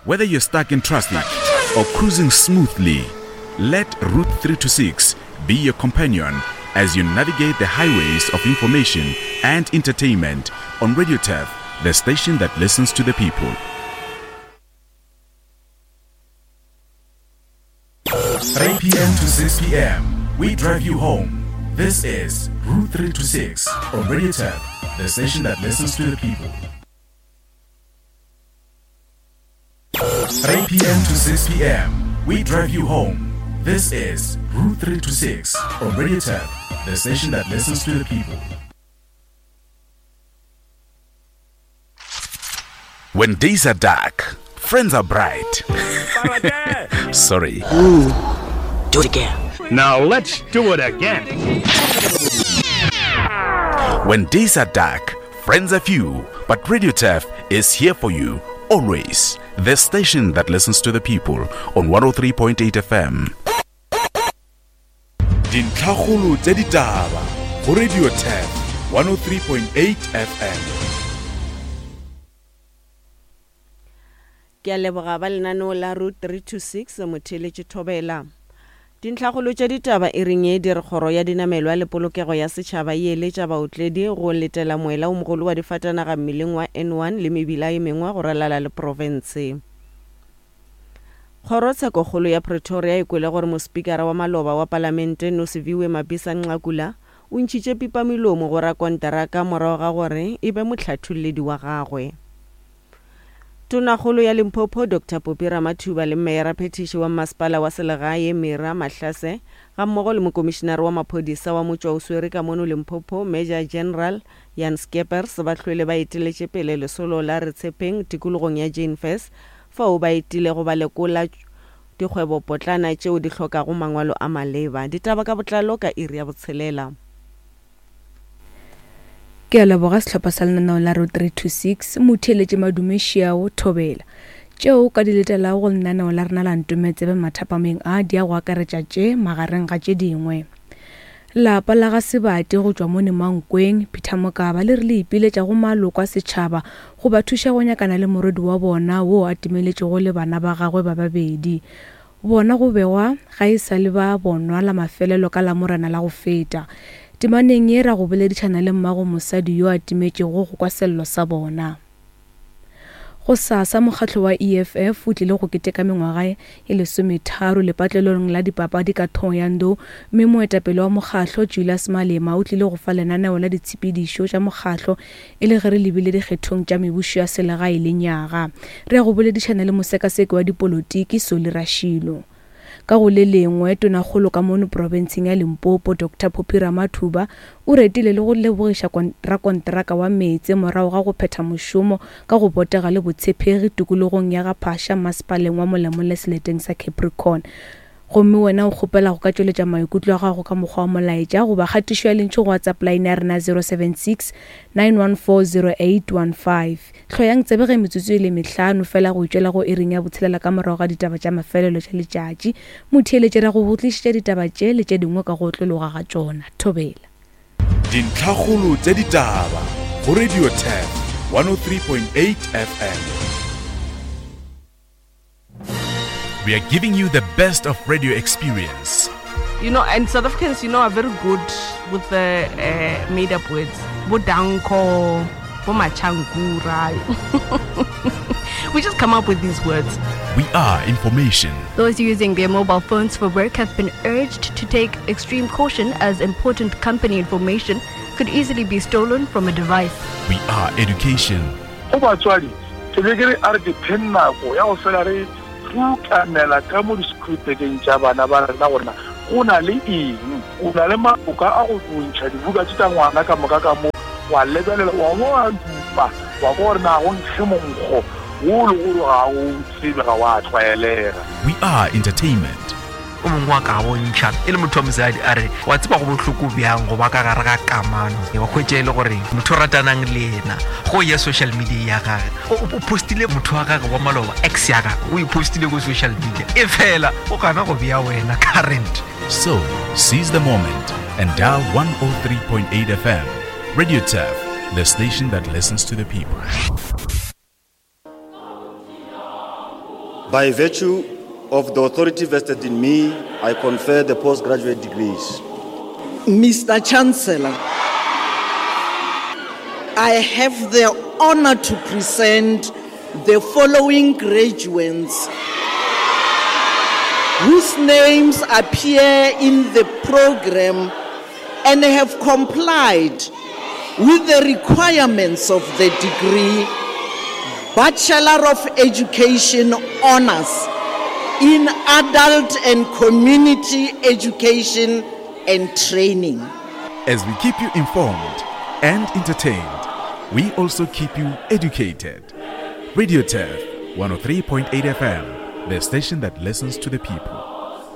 Whether you're stuck in traffic or cruising smoothly, let Route 326 be your companion as you navigate the highways of information and entertainment on Radio Turf, the station that listens to the people. 3 p.m. to 6 p.m., we drive you home. This is Route 326 on Radio Turf, the station that listens to the people. 3 p.m. to 6 p.m., we drive you home. This is Route 326 on Radio Turf, the station that listens to the people. When days are dark, friends are bright. Sorry. Ooh, do it again. Now let's do it again. When days are dark, friends are few, but Radio Turf is here for you always. The station that listens to the people on 103.8 FM. Dintlhakgolo tša ditaba go Radio Turf 103.8 FM. Ke a leboga ba lenaneo la Route 326 motheeletši Thobela. Dintlhakgolo tša ditaba e reng ye di re kgoro ya dinamelwa le polokego ya setšhaba e eletša baotledi go letela moela o mogolo wa difatanaga mmileng wa N1 le mebila e mengwe go ralala le profense. Kgorotshekokgolo ya Pretoria e kwele gore mospikara wa maloba wa palamente Nosiviwe Mapisa-Nqakula o ntšhitše pipamelomo go rakonteraka morago ga gore e be mohlatholledi wa gagwe. Tonakgolo ya Limpopo Doctor Poppy Ramathuba le Meyara-phethiši wa Mmasepala wa Selegae Mira Mahlase gammogo le Mokomišinare wa Maphodisa wa Motšwaoswere ka mono Limpopo Major General Jan Scheepers ba hlwele ba eteletše pele lesolo la Re Tshepeng tikologong ya Jane Furse fao ba etilego ba lekola dikgwebopotlana tšeo di hlokago mangwalo a maleba. Ditaba ka botlalo ka iri ya botshelela. Ke a leboga sehlopha sa lenaneo la Road 326, motheeletši Madume Šiao Thobela. Tšeo o ka di letelago go lenaneo la rena la Ntome Tsebe mathapameng a di ya go akaretša tše magareng ga tše dingwe. Lapa la ga Sebati go tšwa mone Mankweng, Peter Mokaba le re le ipiletša go maloko a setšhaba go ba thuša go nyakana le morwedi wa bona wo a timeletšego le bana ba gagwe ba babedi. Bona go begwa ga e sa le ba bonwa la mafelelo ka Lamorena la go feta. Temaneng ye ra go boledišana le mmago mosadi yo a timetšego go kwa sello sa bona. Gosasa mokgatlo wa EFF o tlile go keteka mengwaga ye lesometharo lepatlelong la dipapadi ka Thohoyandou mme moetapele wa mokgatlo Julius Malema o tlile go fa lenaneo la ditshepedišo tša mokgatlo E le ge re lebile dikgethong tša mebušo ya selegae lenyaga, re ya go boledišana le mosekaseki wa dipolotiki Solly Rashilo. Ka go le lengwe, Tonakgolo ka mono profenseng ya Limpopo, Doctor Phophi Ramathuba, o retile le go lebogiša rakonteraka wa meetse morago ga go phetha mošomo ka go botega le botshepegi tikologong ya Ga-Phasha masepaleng wa Molemole seleteng sa Capricorn. Gomme wena o kgopela go ka tšweletša maikutlo a gago ka mokgwa wa molaetša goba kgatišo ya lentšu go WhatsApp line ya rena 076 914 0815. Hloyang tsebe ge metsotso e le mehlano fela go itšwela go iring ya botshelela ka morago ga ditaba tša mafelelo tša letšatši. Motheeletši re go go tlišetša ditaba tše le tše dingwe ka go otlologa ga tšona. Thobela. Dintlhakgolo tša ditaba go Radio Turf 103.8 FM. We are giving you the best of radio experience. You know, and South Africans, you know, are very good with the uh, made up words. Bodanko, Bomachankura. we just come up with these words. We are information. Those using their mobile phones for work have been urged to take extreme caution as important company information could easily be stolen from a device. We are education. Go batswadi, ke be ke re a re dipheng nako ya go fela re rutamela ka mo di-school-bageng tša bana ba rena gore na go na le eng. O na le maloka a go ntšha dibuka tše tša ngwana ka moka ka mo, wa lebelela, wa bo wa dupa, wa kwa gore na go nkge monkgo wo le gore ga o tsebe, ga wa tlwaelega. We are entertainment. O mongwe wa ka bontšha e le motho wa mosadi a re wa tseba go bohloko bjang go ba ka gare ga kamano wa hwetša e le gore motho o ratanang le yena go ya social media ya gage o postile motho wa gage wa maloba ex ya gage o e postile ko social media e fela o gana go bea wena current. So, seize the moment and dial 103.8 FM. Radio Turf, the station that listens to the people. By virtue of the authority vested in me, I confer the postgraduate degrees. Mr. Chancellor, I have the honor to present the following graduates whose names appear in the program and have complied with the requirements of the degree Bachelor of Education Honors in Adult and Community Education and Training. As we keep you informed and entertained, we also keep you educated. Radio Turf 103.8 FM, the station that listens to the people.